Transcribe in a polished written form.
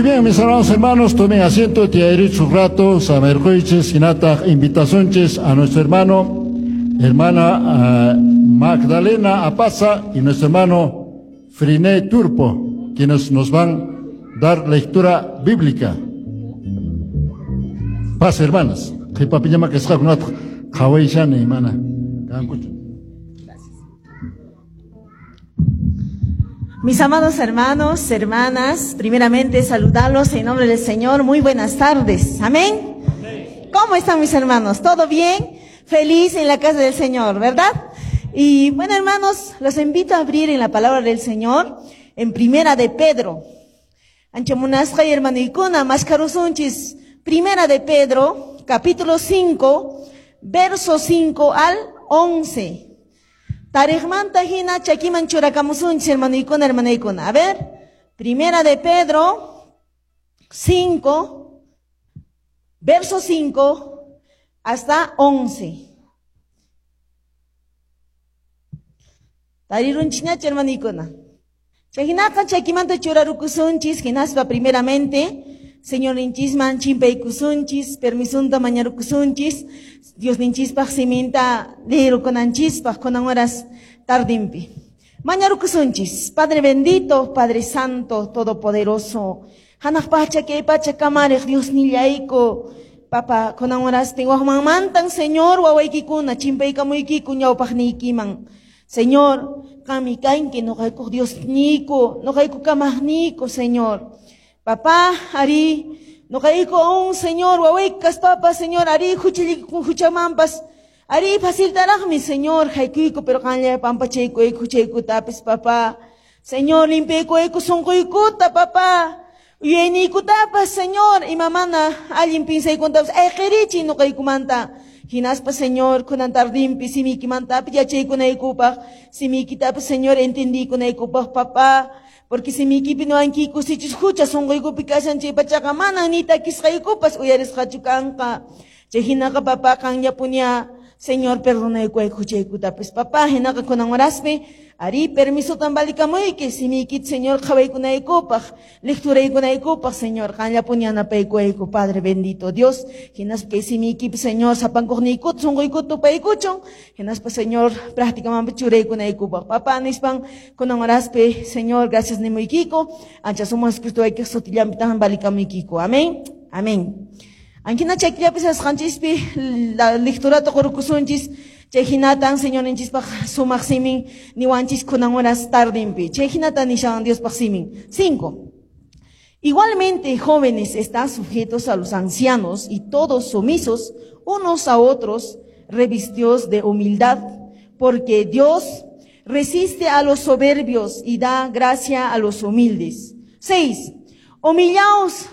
bien, mis hermanos, hermanos, tomen asiento, tiyarichis rato, samerquychis, hinataq invitasunchis a nuestro hermano, hermana Magdalena Apaza y nuestro hermano Friné Turpo, quienes nos van a dar lectura bíblica. Paz, hermanas. Qhipapiñama kasqakunata qhawayshani, mana kankuchu. Mis amados hermanos, hermanas, primeramente saludarlos en nombre del Señor. Muy buenas tardes. Amén. ¿Cómo están mis hermanos? ¿Todo bien? Feliz en la casa del Señor, ¿verdad? Y bueno, hermanos, los invito a abrir en la palabra del Señor en Primera de Pedro. Ancha munasqay hermanoykuna, maskarusunchis. Primera de Pedro, capítulo 5, verso 5 al 11. Tariqmanta hina chakiman churakamusunchis, hermanoykuna, hermanoykuna. A ver, Primera de Pedro 5, verso 5 hasta 11. Tarirunchinachu, hermanoykuna. Chayhinaqa chakimanta churarukusunchis, hinaspa primeramente Señor ninchisman chimpaykusunchis, permisunta mañarukusunchis, Dios ninchispaq siminta lirukunanchispaq kunan horas tardimpi. Mañarukusunchis, Padre bendito, Padre santo, todopoderoso, hanaq pacha kay pacha kamariq Dios nillayku, Papa, kunan horaspi waqmanmantan, Señor, wawaykikuna chimpaykamuykiku ñawpaqniykiman. Señor, qanmi kanki noqaykuq Dios niyku, noqayku kamaqniyku, Señor. Papá, ari, noqayku un Señor, wawaykas, papa, Señor, ari, huchamampas, ari, facilitaraqmi, Señor, haykuyku, pero qanlla pampachaykuyku, huchaykutapis, papá. Señor, limpiaykuyku sunquykuta, papá. Uyayniykutapas, Señor, imamana allin pinsaykuntapas, ayqirichiy noqaykumanta. Hinaspa, Señor, kunan tardimpi, simiykimantapas yachaykunaykupaq, simiykitapas, Señor, entendiykunaykupaq, papá. Porque simiykipi nuwankiku sichus hucha sunquykupi kashan chay pachaqa manan ni takisqaykupas uyarisqachu kanqa. Chay hinaqa, papá, qanllapuña, Señor, perdonaykuyku huchaykutapis, papá. Hinaqa kunan horaspi, ari, permisotan valikamuyki, simiykita, Señor, qhawaykunaykupaq, lecturaykunaykupaq, Señor, qanllapuña yanapaykuyku, Padre bendito Dios. Hinaspa kay simiykipi, Señor, sapankuqniykuta, sunquykuta tupaykuchun, hinaspa, Señor, prácticamente churaykunaykupaq, papá, nispan kunan horaspi, Señor, gracias nimuykiku, ancha sumaq Jesucristo waykiq sutillanpitan valikamuykiku. Amén. Amén. Ankina chaykillapi sasqanchispi la lecturata qurukusunchis, chay hinatan Señor ninchispaq sumaq simin niwanchis kunan horas tardimpi. Chay hinatan nishan Diospaq simin. 5. Igualmente, jóvenes, están sujetos a los ancianos y todos sumisos unos a otros, revestidos de humildad, porque Dios resiste a los soberbios y da gracia a los humildes. 6. Humillaos